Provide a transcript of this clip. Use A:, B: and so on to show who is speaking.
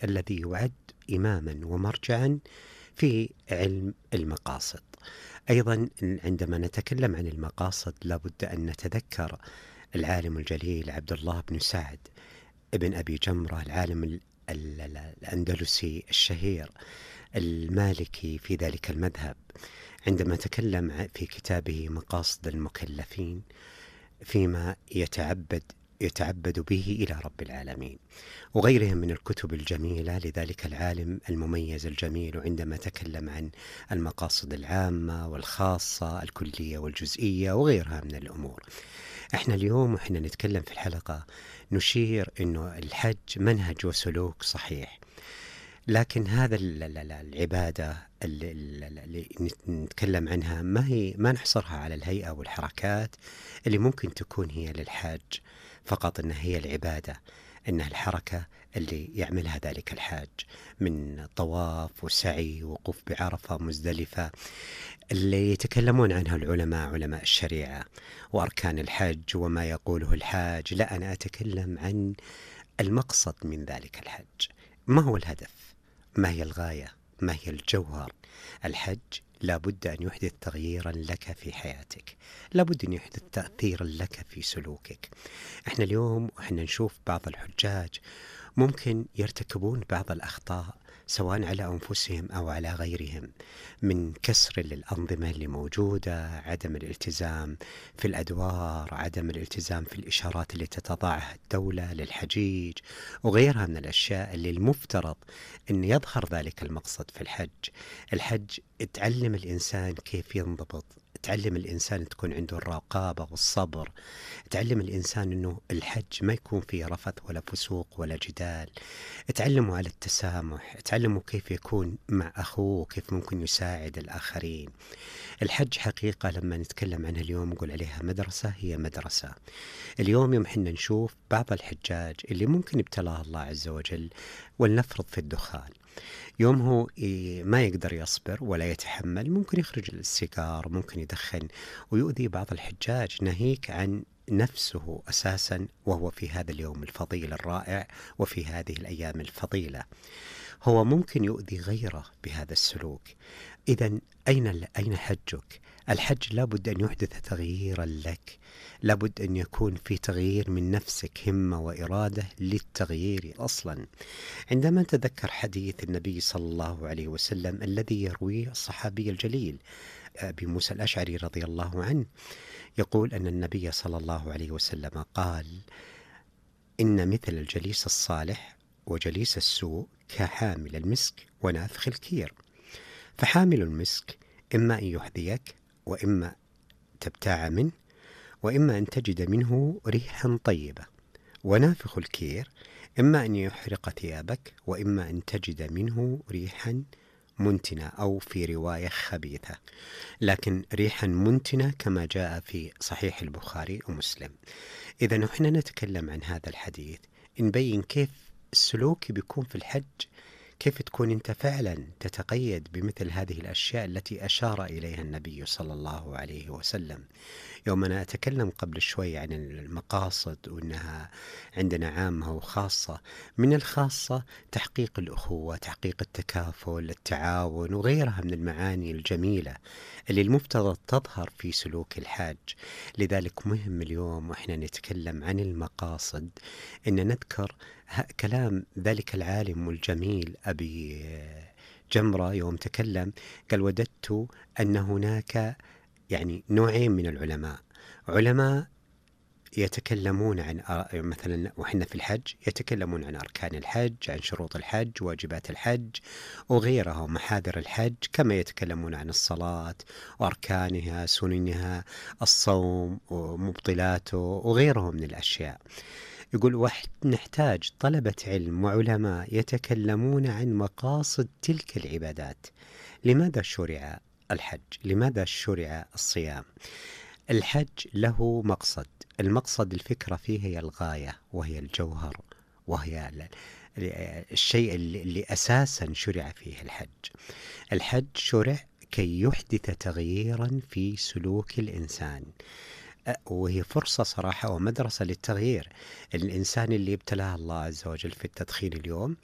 A: الذي يعد إماما ومرجعا في علم المقاصد. أيضا عندما نتكلم عن المقاصد لابد أن نتذكر العالم الجليل عبد الله بن سعد ابن أبي جمرة، العالم الأندلسي الشهير المالكي في ذلك المذهب، عندما تكلم في كتابه مقاصد المكلفين فيما يتعبد به إلى رب العالمين، وغيرها من الكتب الجميلة لذلك العالم المميز الجميل، عندما تكلم عن المقاصد العامة والخاصة الكلية والجزئية وغيرها من الأمور. احنا اليوم وحنا نتكلم في الحلقة نشير انه الحج منهج وسلوك صحيح، لكن هذا العبادة اللي نتكلم عنها ما نحصرها على الهيئة والحركات اللي ممكن تكون هي للحاج فقط، إنها هي العبادة، إنها الحركة اللي يعملها ذلك الحاج من طواف وسعي ووقوف بعرفة مزدلفة اللي يتكلمون عنها العلماء، علماء الشريعة، وأركان الحج وما يقوله الحاج. لا، أنا أتكلم عن المقصد من ذلك الحج. ما هو الهدف؟ ما هي الغاية؟ ما هي الجوهر؟ الحج لابد أن يحدث تغييرا لك في حياتك، لابد أن يحدث تأثيرا لك في سلوكك. احنا اليوم وإحنا نشوف بعض الحجاج ممكن يرتكبون بعض الأخطاء سواء على أنفسهم أو على غيرهم، من كسر للأنظمة اللي موجودة، عدم الالتزام في الأدوار، عدم الالتزام في الإشارات اللي تتضعها الدولة للحجيج وغيرها من الأشياء اللي المفترض أن يظهر ذلك المقصد في الحج. الحج تعلم الإنسان كيف ينضبط، تعلم الإنسان تكون عنده الرقابة والصبر، تعلم الإنسان أنه الحج ما يكون فيه رفث ولا فسوق ولا جدال، تعلمه على التسامح، تعلمه كيف يكون مع أخوه، كيف ممكن يساعد الآخرين. الحج حقيقة لما نتكلم عنها اليوم نقول عليها مدرسة، هي مدرسة. اليوم يوم حنا نشوف بعض الحجاج اللي ممكن ابتلاه الله عز وجل، ولنفرض في الدخان، يوم هو ما يقدر يصبر ولا يتحمل، ممكن يخرج السيجار، ممكن يدخن ويؤذي بعض الحجاج، ناهيك عن نفسه أساسا وهو في هذا اليوم الفضيل الرائع وفي هذه الأيام الفضيلة، هو ممكن يؤذي غيره بهذا السلوك. إذن أين حجك؟ الحج لابد أن يحدث تغييرا لك، لابد أن يكون في تغيير من نفسك، همة وإرادة للتغيير أصلا. عندما نتذكر حديث النبي صلى الله عليه وسلم الذي يرويه الصحابي الجليل أبي موسى الأشعري رضي الله عنه، يقول أن النبي صلى الله عليه وسلم قال: إن مثل الجليس الصالح وجليس السوء كحامل المسك ونافخ الكير، فحامل المسك إما أن يحذيك وإما تبتاع منه وإما أن تجد منه ريحا طيبة، ونافخ الكير إما أن يحرق ثيابك وإما أن تجد منه ريحا منتنة، أو في رواية خبيثة، لكن ريحا منتنة كما جاء في صحيح البخاري ومسلم. إذا نحن نتكلم عن هذا الحديث نبين كيف السلوك بيكون في الحج، كيف تكون أنت فعلا تتقيد بمثل هذه الأشياء التي أشار إليها النبي صلى الله عليه وسلم. يوم أنا أتكلم قبل شوي عن المقاصد وأنها عندنا عامة وخاصة، من الخاصة تحقيق الأخوة، تحقيق التكافل، التعاون وغيرها من المعاني الجميلة اللي المفترض تظهر في سلوك الحاج. لذلك مهم اليوم وإحنا نتكلم عن المقاصد أن نذكر كلام ذلك العالم الجميل أبي جمرة يوم تكلم، قال: وددت أن هناك يعني نوعين من العلماء، علماء يتكلمون عن مثلا وحنا في الحج يتكلمون عن أركان الحج، عن شروط الحج، واجبات الحج وغيرها ومحاذر الحج، كما يتكلمون عن الصلاة وأركانها، سننها، الصوم ومبطلاته وغيرها من الأشياء. يقول نحتاج طلبة علم وعلماء يتكلمون عن مقاصد تلك العبادات. لماذا شرع الحج؟ لماذا شرع الصيام؟ الحج له مقصد، المقصد الفكرة فيه هي الغاية وهي الجوهر وهي الشيء اللي أساسا شرع فيه الحج. الحج شرع كي يحدث تغييرا في سلوك الإنسان، وهي فرصة صراحة ومدرسة للتغيير. الإنسان اللي ابتلاه الله عز وجل في التدخين اليوم